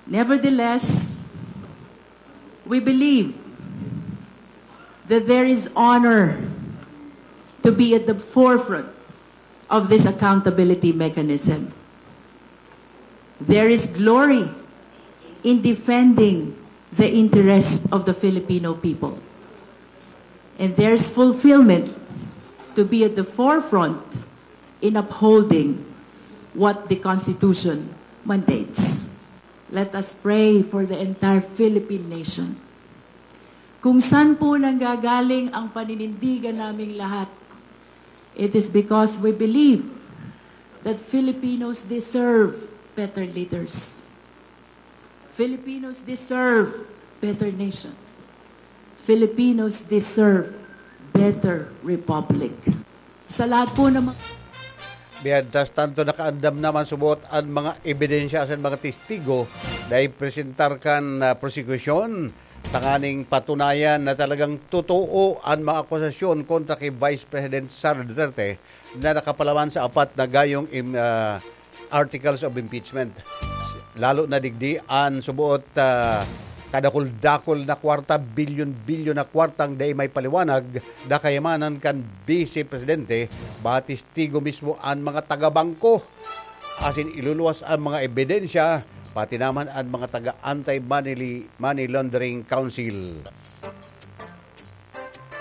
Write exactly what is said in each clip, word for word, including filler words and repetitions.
Nevertheless, we believe that there is honor to be at the forefront of this accountability mechanism. There is glory in defending the interest of the Filipino people. And there's fulfillment to be at the forefront in upholding what the Constitution mandates. Let us pray for the entire Philippine nation. Kung saan po nanggagaling ang paninindigan naming lahat, it is because we believe that Filipinos deserve better leaders. Filipinos deserve better nation. Filipinos deserve better republic. Sa lahat po ng mga Mientras tanto, nakaandam naman subot an mga ebidensya sa mga testigo na ipresentar kan ah, prosekusyon tanganing patunayan na talagang totoo an mga akusasyon kontra kay Vice President Sara Duterte na nakapalaman sa apat na gayong im, ah, articles of impeachment. Lalo na digdi an subuot ah, kadakul-dakul na kwarta, bilyon-bilyon na kwartang dai may paliwanag na kayamanan kan Vice Presidente, ba testigo mismo an mga taga-bangko. Asin iluluwas an mga ebidensya, pati naman an mga taga-anti-money money laundering council.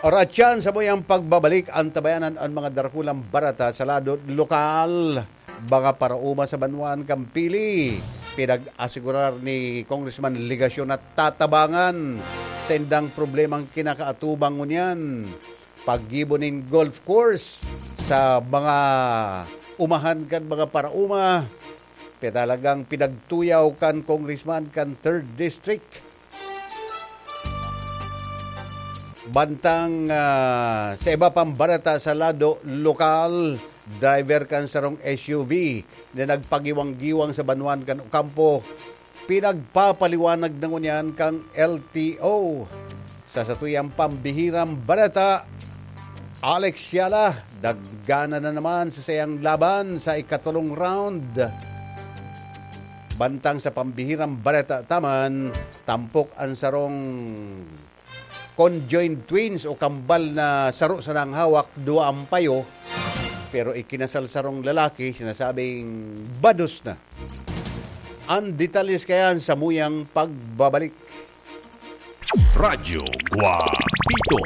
Oratyan sa muyang pagbabalik, antabayanan an mga darakulang barata sa lado lokal. Mga paraoma sa banwaan kan Pili, pinag-asigurar ni Congressman Legacion na tatabangan sa indang problemang kinakaatubang ngunyan. Paggibo nin golf course sa mga umahan kan mga paraoma, talagang pinagtuyaw kan Congressman kan Third District. Bantang ah, sa iba pang bareta sa lado lokal, driver kan sarong S U V na nagpagiwang-giwang sa banwaan kan Ocampo, pinagpapaliwanag na ngunyan kan L T O. Sa satuyang pambihirang bareta, Alex Yala, daggana na naman sa sayang laban sa ikatulong round. Bantang sa pambihirang bareta taman, tampok an sarong conjoined twins o kambal na saro sana ang hawak, duwa ang payo, pero ikinasal sarong lalaki, sinasabing bados na. Ang detalles kayan sa muyang pagbabalik. Radyo Guapito.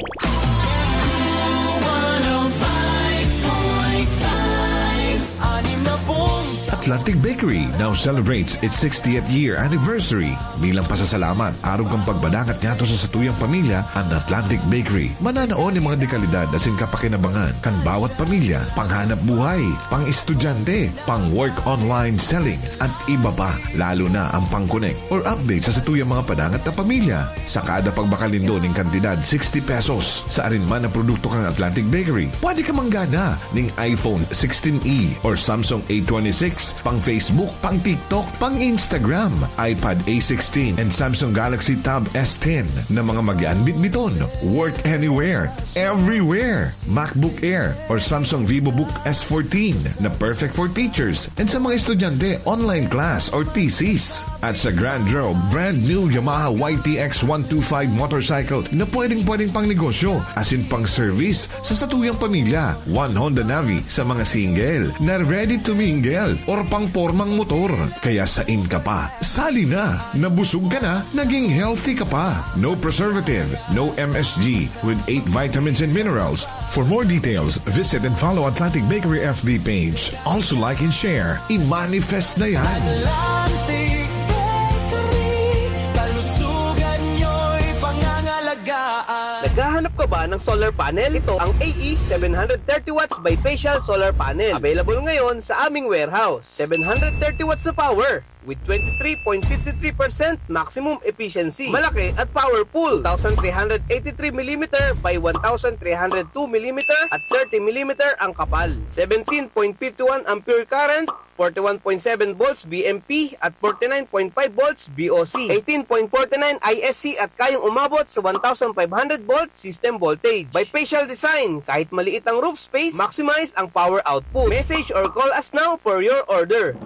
Atlantic Bakery now celebrates its sixtieth year anniversary. Bilang pasasalamat, arog kan pagpadangat ngadto sa satuyang pamilya, an Atlantic Bakery mananao nin mga dekalidad asin kapakinabangan kan bawat pamilya, panghanap buhay, pang-estudyante, pang-work online selling, at iba pa, lalo na ang pang-connect or update sa satuyang mga padangat na pamilya. Sa kada pagbakal nindo nin kantidad sixty pesos sa arin man na produkto kan Atlantic Bakery, pwede ka manggana ning iPhone sixteen E or Samsung A twenty-six, pang Facebook, pang TikTok, pang Instagram, iPad A sixteen, and Samsung Galaxy Tab S ten na mga magian bitbiton. Work anywhere, everywhere. MacBook Air or Samsung VivoBook S fourteen na perfect for teachers and sa mga estudyante, online class or thesis. At sa Grand Draw, brand new Yamaha Y T X one two five motorcycle na pwedeng-pwedeng pang negosyo, asin pang service sa satuyang pamilya. One Honda Navi sa mga single na ready to mingle or pang pormang motor. Kaya sain ka pa? Sali na! Nabusog ka na, naging healthy ka pa. No preservative, no M S G, with eight vitamins and minerals. For more details, visit and follow Atlantic Bakery F B page. Also like and share. I-manifest na yan! Atlantic Bakery, kalusugan nyo'y pangangalagaan. Naghahanap ka ba ng solar panel? Ito ang A E seven hundred thirty watts bifacial solar panel. Available ngayon sa aming warehouse. Seven hundred thirty watts na power with twenty-three point fifty-three percent maximum efficiency. Malaki at powerful. Two thousand three hundred eighty-three millimeter by one thousand three hundred two millimeter at thirty millimeter ang kapal. Seventeen point fifty-one ampere current, forty-one point seven volts V M P at forty-nine point five volts V O C. Eighteen point forty-nine I S C at kayang umabot sa one thousand five hundred volt system voltage. Bifacial design, kahit maliit ang roof space, maximize ang power output. Message or call us now for your order.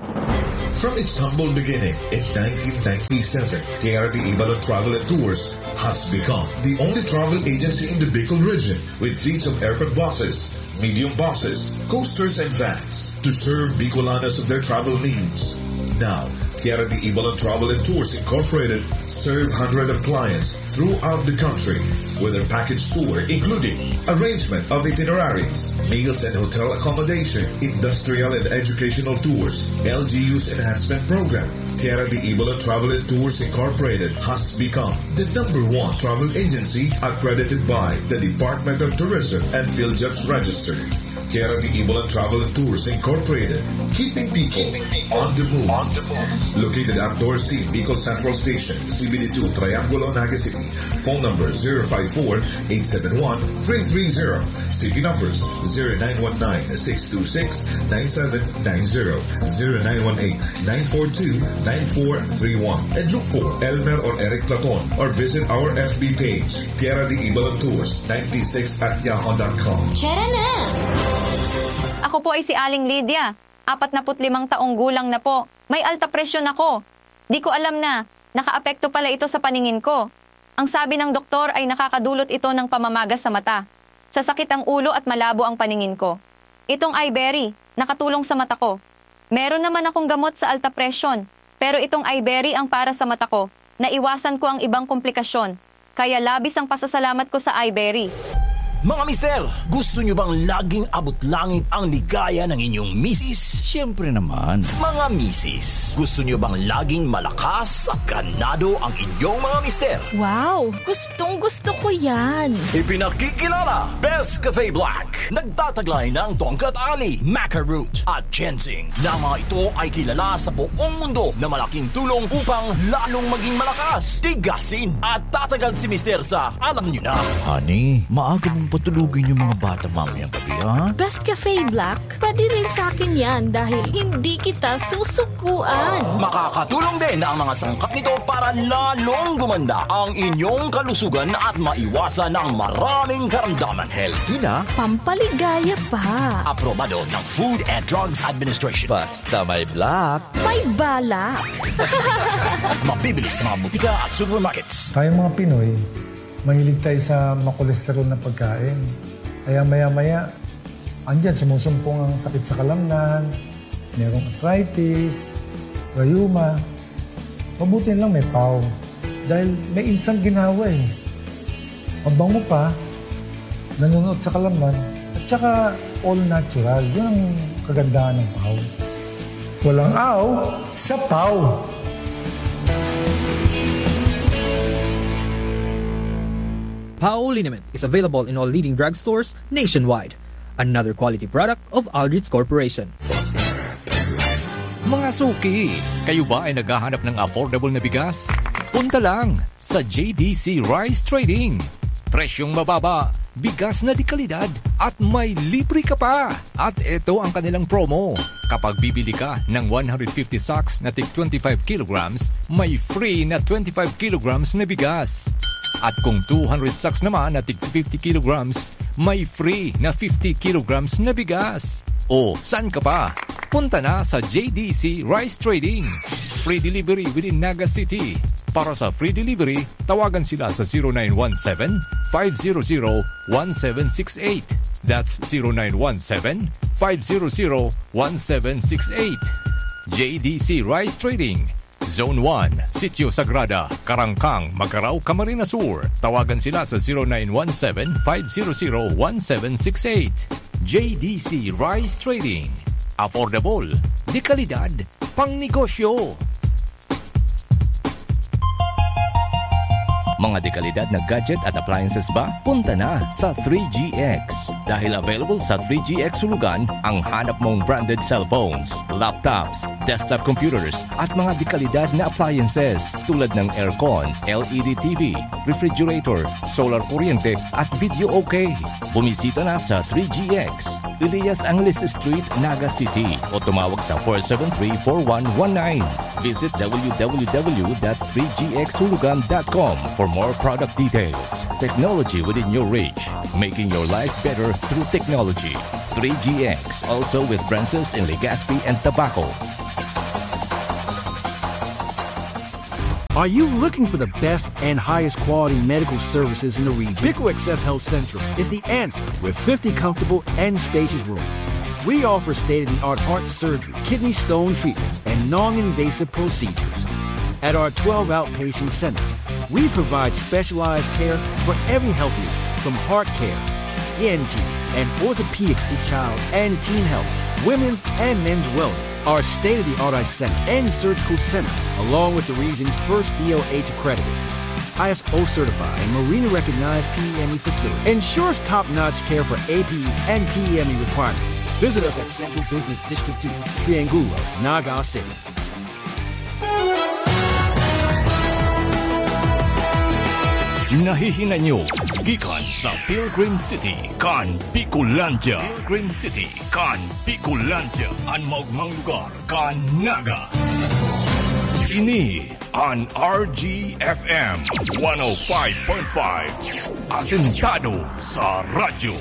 From its humble beginning in nineteen ninety-seven, Tierra de Ibalon Travel and Tours has become the only travel agency in the Bicol region with fleets of aircon buses, medium buses, coasters, and vans to serve Bicolanos of their travel needs. Now, Tierra de Ibalon Travel and Tours Incorporated serve hundreds of clients throughout the country with their package tour, including arrangement of itineraries, meals and hotel accommodation, industrial and educational tours, L G U's enhancement program. Tierra de Ibalon Travel and Tours Incorporated has become the number one travel agency accredited by the Department of Tourism and PhilJobs Registered. Tierra de Ibalon Travel and Tours Incorporated, keeping people on the move. Located at Dorsey, Bicol Central Station, C B D two, Triangulo, Naga City. Phone number zero five four, eight seven one, three three zero. C P numbers zero nine one nine, six two six, nine seven nine zero, zero nine one eight, nine four two, nine four three one. And look for Elmer or Eric Platon or visit our F B page, Tierra de Ibalon Tours ninety-six at yahoo dot com. Tara na! Ako po ay si Aling Lydia. Apatnaput limang taong gulang na po. May alta presyon ako. Di ko alam na nakaapekto pala ito sa paningin ko. Ang sabi ng doktor ay nakakadulot ito ng pamamaga sa mata. Sasakit ang ulo at malabo ang paningin ko. Itong Iberry, nakatulong sa mata ko. Meron naman akong gamot sa alta presyon, pero itong Iberry ang para sa mata ko. Naiwasan ko ang ibang komplikasyon. Kaya labis ang pasasalamat ko sa Iberry. Mga mister, gusto nyo bang laging abot langit ang ligaya ng inyong misis? Siyempre naman. Mga misis, gusto nyo bang laging malakas at ganado ang inyong mga mister? Wow! Gustong gusto ko yan! Ipinakikilala, Best Cafe Black. Nagtataglay ng Tongkat Ali, Maca Root, at Ginseng, na mga ito ay kilala sa buong mundo na malaking tulong upang lalong maging malakas, tigasin, at tatagal si Mister sa, alam nyo na. Honey, maaga mong patulugin yung mga bata mamayang gabi, ha? Best Cafe Black, pwede rin sa akin yan dahil hindi kita susukuan. Makakatulong din ang mga sangkap nito para lalong gumanda ang inyong kalusugan at maiwasan ang maraming karamdaman. Healthy na. Pampaligaya pa. Aprobado ng Food and Drugs Administration. Basta may Black. May balak. Mabibili sa mga butika at supermarkets. Tayong mga Pinoy, mahilig tayo sa makolesterol na pagkain. Kaya maya-maya, andyan, sumusumpong ang sakit sa kalamnan, merong arthritis, rayuma. Mabuti na lang may pau. Dahil may instant ginhawa eh. Mabango pa, nanunuot sa kalamnan, at saka all natural. Yun ang kagandahan ng pau. Walang aw sa pau. Pau liniment is available in all leading drugstores nationwide. Another quality product of Aldrich Corporation. Mga suki, kayo ba ay naghahanap ng affordable na bigas? Punta lang sa J D C Rice Trading. Presyong mababa, bigas na de kalidad, at may libre ka pa! At eto ang kanilang promo. Kapag bibili ka ng one hundred fifty sacks na tig twenty-five kilograms, may free na twenty-five kilograms na bigas. At kung two hundred sacks naman na tig fifty kilograms, may free na fifty kilograms na bigas. O, saan ka pa? Punta na sa J D C Rice Trading. Free delivery within Naga City. Para sa free delivery, tawagan sila sa zero nine one seven, five zero zero, one seven six eight. That's zero nine one seven, five zero zero, one seven six eight. J D C Rice Trading, Zone one, Sitio Sagrada, Karangkang, Magarao, Camarines Sur. Tawagan sila sa zero nine one seven, five zero zero, one seven six eight. J D C Rice Trading. Affordable, de kalidad, pangnegosyo. Mga dekalidad na gadget at appliances ba? Punta na sa three G X. Dahil available sa three G X Hulugan ang hanap mong branded cellphones, laptops, desktop computers, at mga dekalidad na appliances tulad ng aircon, L E D T V, refrigerator, solar kuryente, at video okay. Bumisita na sa three G X, Elias Angeles Street, Naga City, o tumawag sa four seven three, four one one nine. Visit w w w dot three g x hulugan dot com for more product details. Technology within your reach, making your life better through technology. Three G X, also with branches in Legazpi and Tabaco. Are you looking for the best and highest quality medical services in the region? Pico Access Health Central is the answer with fifty comfortable and spacious rooms. We offer state-of-the-art heart surgery, kidney stone treatments, and non-invasive procedures. At our twelve outpatient centers, we provide specialized care for every health need, from heart care, E N T, and orthopedics to child and teen health, women's and men's wellness. Our state-of-the-art eye center and surgical center, along with the region's first D O H accredited, I S O certified, and Marina recognized P E M E facility, ensures top-notch care for A P E and P E M E requirements. Visit us at Central Business District two, Triangulo, Naga City. Nahihinay nyo gikan sa Pilgrim City kan Bicolandia. Pilgrim City kan Bicolandia, an maogmang lugar kan Naga. Ini an R G F M one oh five point five, asentado sa radyo.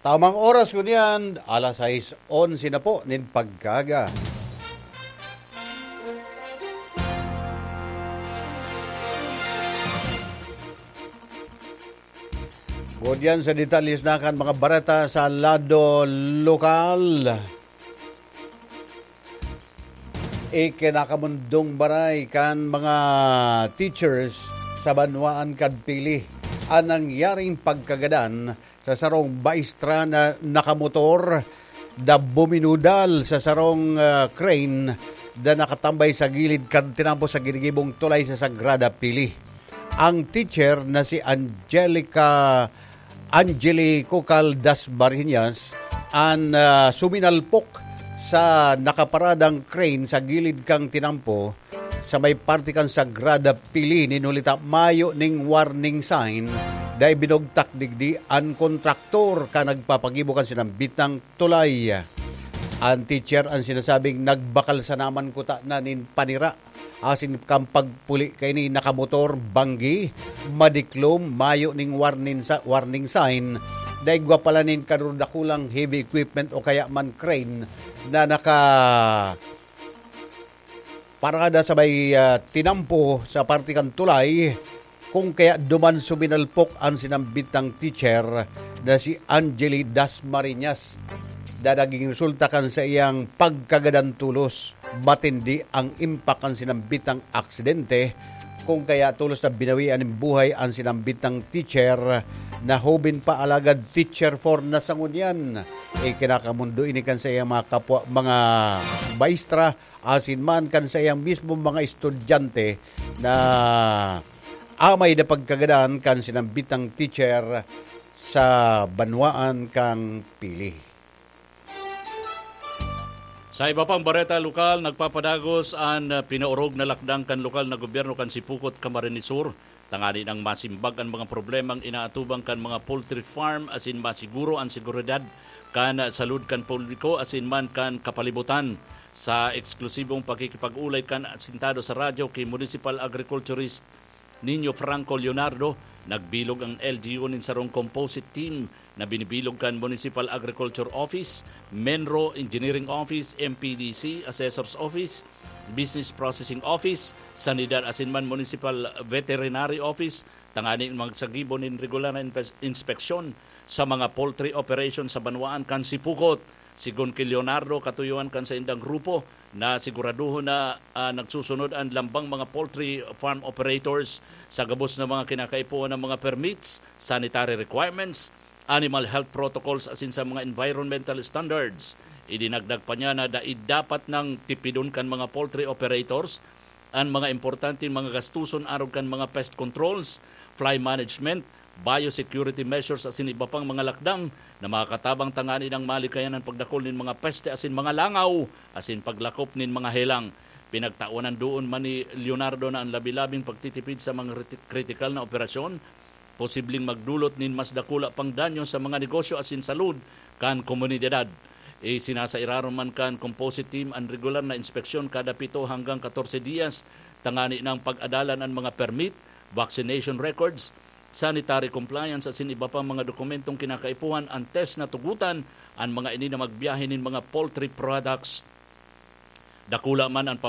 Tamang oras ngunyan, alas sais onse na po nin pagkaaga. Ngunyan sa detalye na kan mga bareta sa lado lokal. Ikinakamundong baray kan mga teachers sa banwaan kan Pili an nangyaring pagkagadan sa sarong maestra na nakamotor na buminudal sa sarong, ah, crane na nakatambay sa gilid kan tinampo sa ginigibong tulay sa Sagrada Pili. Ang teacher na si Angelica, Angeli Cucal Dasmariñas, an, ah, suminalpok sa nakaparadang crane sa gilid kan tinampo sa may parte kan Sagrada Pili. Nin huli ta mayo ning warning sign, dai binugtak digdi an kontraktor kan nagpapagibo kan sinambitang tulay. An teacher an sinasabing nagbakal sana man kutana nin panira asin kan pagpuli kaini nakamotor, banggi, madiklom, mayo ning warning sa, warning sign, dai igwa pala nin kadurdakulang heavy equipment o kaya man crane na naka parada sa may, ah, tinampo sa parte kan tulay, kung kaya duman suminalpok an sinambitang teacher na si Angeli Dasmariñas, na naging resulta kan saiyang pagkagadan tolos. Matindi ang impact kan sinambitang aksidente, kung kaya tolos na binawian nin buhay an sinambitang teacher na hoben pa, alagad teacher four na sa ngunyan. Ikinakamundo ini kan saiyang mga kapwa, mga maestra, asin man kan saiyang mismong mga estudyante na amay na pagkagadan kan sinambitang teacher sa banwaan kan Pili. Sa iba pang bareta lokal, nagpapadagos an, ah, pinaorog na lakdang kan lokal na gobyerno kan Sipocot, Camarines Sur, tangani nang masimbag an mga problemang inaatubang kan mga poultry farm asin masiguro an seguridad kan salud kan publiko asin man kan kapalibutan. Sa eksklusibong pakikipag-olay kan asentado sa radyo ki Municipal Agriculturist Nino Franco Leonardo, nagbilog ang L G U nin sarong composite team na binibilog kan Municipal Agriculture Office, MENRO, Engineering Office, M P D C, Assessor's Office, Business Processing Office, Sanidad asin man Municipal Veterinary Office, tanganing magsagibo nin regular na inpes-, inspeksyon sa mga poultry operation sa banwaan kan Sipocot. Sigon ki Leonardo, katuyoan kan saindang grupo na siguraduhon na, ah, nagsusunod an lambang mga poultry farm operators sa gabos na mga kinakaipuhan na mga permits, sanitary requirements, animal health protocols asin sa mga environmental standards. Idinagdag pa niya na dai dapat nang tipidon kan mga poultry operators an mga importanteng mga gastuson arog kan mga pest controls, fly management, biosecurity measures asin iba pang mga lakdang na makakatabang tanganing malikayan an pagdakul nin mga peste asin mga langaw asin paglakop nin mga helang. Pinagtawanan doon man ni Leonardo na an labi-labing pagtitipid sa mga kriti-, kritikal na operasyon posibleng magdulot nin mas dakula pang danyo sa mga negosyo asin salud kan komunidad. Isinasairarom man kan composite team an regular na inspeksyon kada pito hanggang katorse diyas, tangani nang pag-adalan an mga permit, vaccination records, sanitary compliance asin iba pang mga dokumentong kinakaipuhan antes na tugotan an mga ini na magbiyahe nin mga poultry products. Dakula man an